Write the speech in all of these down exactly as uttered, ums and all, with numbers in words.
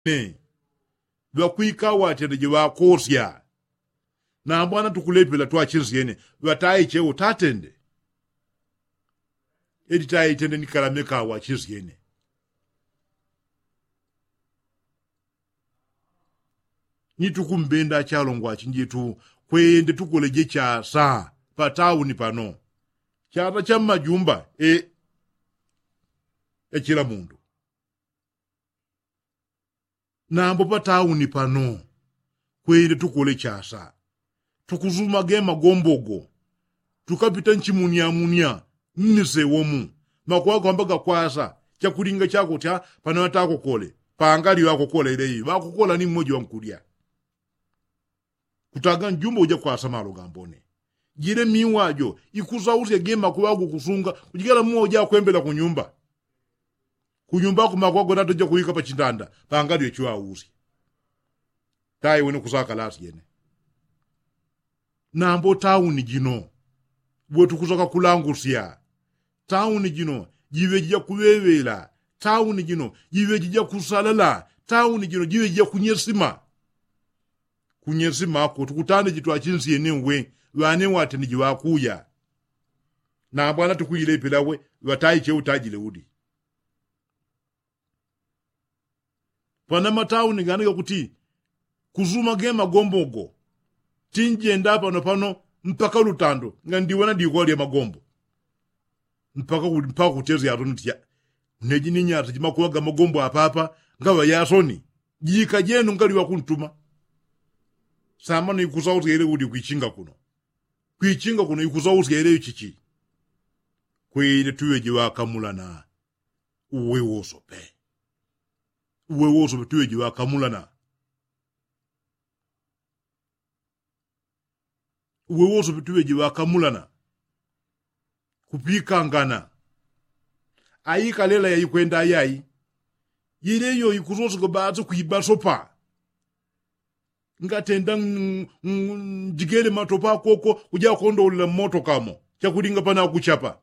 Ŵakwika ŵatende jiŵakosya. Nambwana tukulepela twachisyene ŵatayi chewo tatende. Eti tayi tende nikalameka ŵachisyene. Ni tukumbenda achalongwa achinjitu kwende tukoleje chasa. Patauni pano chasa cha mmajumba e echila mundu. Nambo patauni pano kwende tukole chasa. Tukusuma ge magombogo tukapita nchimunyamunya mmisewomu. Makuwa kwamba gakwasa chakulinga chakutya pano ŵatakokole pangali ŵakokola ile iyo ŵakokola ni mmoji wankulya. Kutaga njumba uja kwasa malo gambone. Jile miwa jo ikusausya ge makuwa gukusunga kujikela muwa uja kwembela kunyumba. Kunyumba kumakwa gona toja kuwika pachindanda pangalyo chiwausya. Tayi wene kusaka lasi jene. Nambo tauni jino wetukusaka kulangusya. Tauni jino jiŵe jija kuŵeŵela. Tauni jino jiŵe jija kusalala. Tauni jino jiŵe jija kunyesima. Kunyesima ako tukutane jitwachinsyene uwe ŵane ŵatene jiŵakuya. Nambwana tukuilepela we ŵatayi chewo tajile udi. Pana matauni gani gakuti kusuma ge magombo go. Tinjenda pano pano mpaka lutando nga ndiwona dikwa lya magombo. Mpaka kutezi yatoni tiya neji ni nyata jimakuwa ga magombo apapa ngaŵa yasoni. Jika jenu ngali wakuntuma. Samano ikusausya ile udi kwichinga kuno. Kwichinga kuno ikusausya ile chichi. Kwile tuŵe jiŵakamulana. Uwe wosope. Uwe wosope tuŵe jiŵakamulana. Uwe wosope tuŵe jiŵakamulana. Kupikangana. Aikalela yaikwenda ayayi. Yile iyo ikusoseka basi kwibasopa. Ngatenda njigele matopa koko kuja kondolela mmotokamo. Chakulinga pana kuchapa.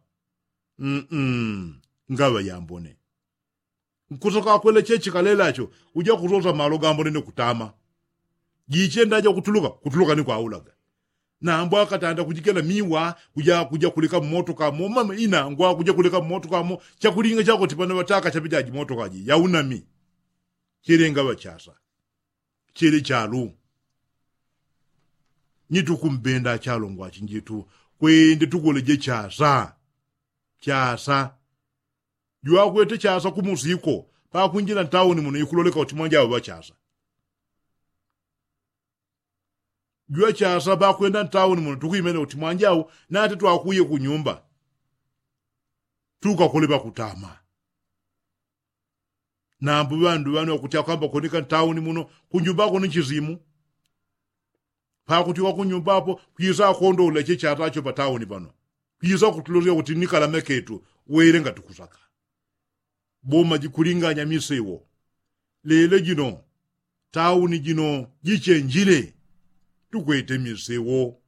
Ngaŵa yambone. Nkusoka kwele chechi kalelacho uja kusosa malo gambone ne kutama. Jichenda aja kutuluka kutuluka ni kwaulaga. Nambo akatanda kujikela miwa kuja kuja kuleka mmotoka momama ina ngwa kuja kuleka mmotoka mo. Chakulinga chakoti pano ŵataka chapita jimotoka ji yaunami. Chele ngaŵa chasa. Chele chalu. Ni tukumbenda achalongwa achinjitu kwende tukoleje chasa. Chasa. Jwakwete chasa kumusiko pakwinjila ntauni muno ikuloleka uti mwanjau ŵachasa. Jwachasa pakwenda ntauni muno tukwimene uti mwanjau nati twakuye kunyumba. Tukakole pakutama. Nambu ŵandu ŵanu ŵakuti akwamba konika ntauni muno kunyumba kuno nchisimu. Pakuti wakunyumba apo kwisa akondola che chatacho patauni pano. Kwisa kutulosya kuti nikalameketu wele ngati kusaka. Boma jikulinganya misewo. Lele jino tauni jino jichenjile. Tukwete misewo.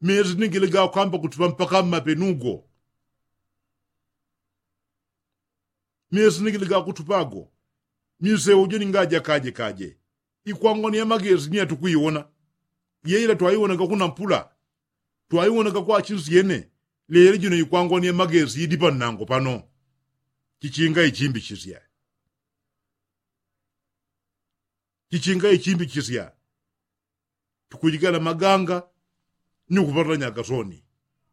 Mesi nigile gakwamba kuti pampaka mmapenugo. Mesi nigile gakutupago. Misewo jo ningajakaje kaje. Ikwangwani ya magesi ni yatukwiwona. Yeila twaiwonaga kunampula. Twaiwonaga kwachinsi yene. Lele jino ikwangwani ya magesi idi pannango pano. Chichinga ichimbichisya. Chichinga ichimbichisya. Tukujigala maganga. Ni kupatula nyagasoni.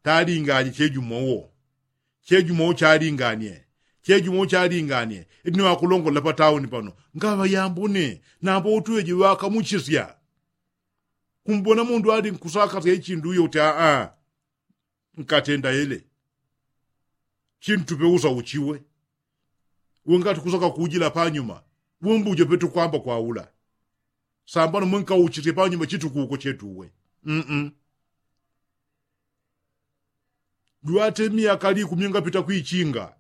Talinganye chejumowo. Chejumowo chalinganye. Chejumowo chalinganye. Iti ni wakulongolela patauni pano ngaŵa yambone. Nambo utuweji wakamuchisya. Kumbona mundu ali nkusakasya ichindu uyo uti aa. Nkatenda ele. Chintupe usa uchiwe. Wengati kusaka kujila panyuma. Wembujo petukwamba kwaula. Sambano mwenkauchisye panyuma chitukuko chetuwe. Jwate myaka likumi ngapita kwichinga.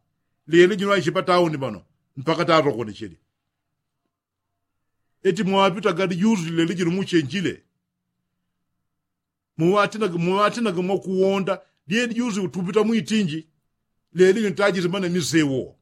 Lele jino aiche patauni pano mpaka tatokonechele. Eti mwapita gadi juzi lele jino muchenjile. Muŵatinaga muŵatinaga mwakuwonda. Lyeli juzi utupita mwitinji. Leli ntajile mana misewo.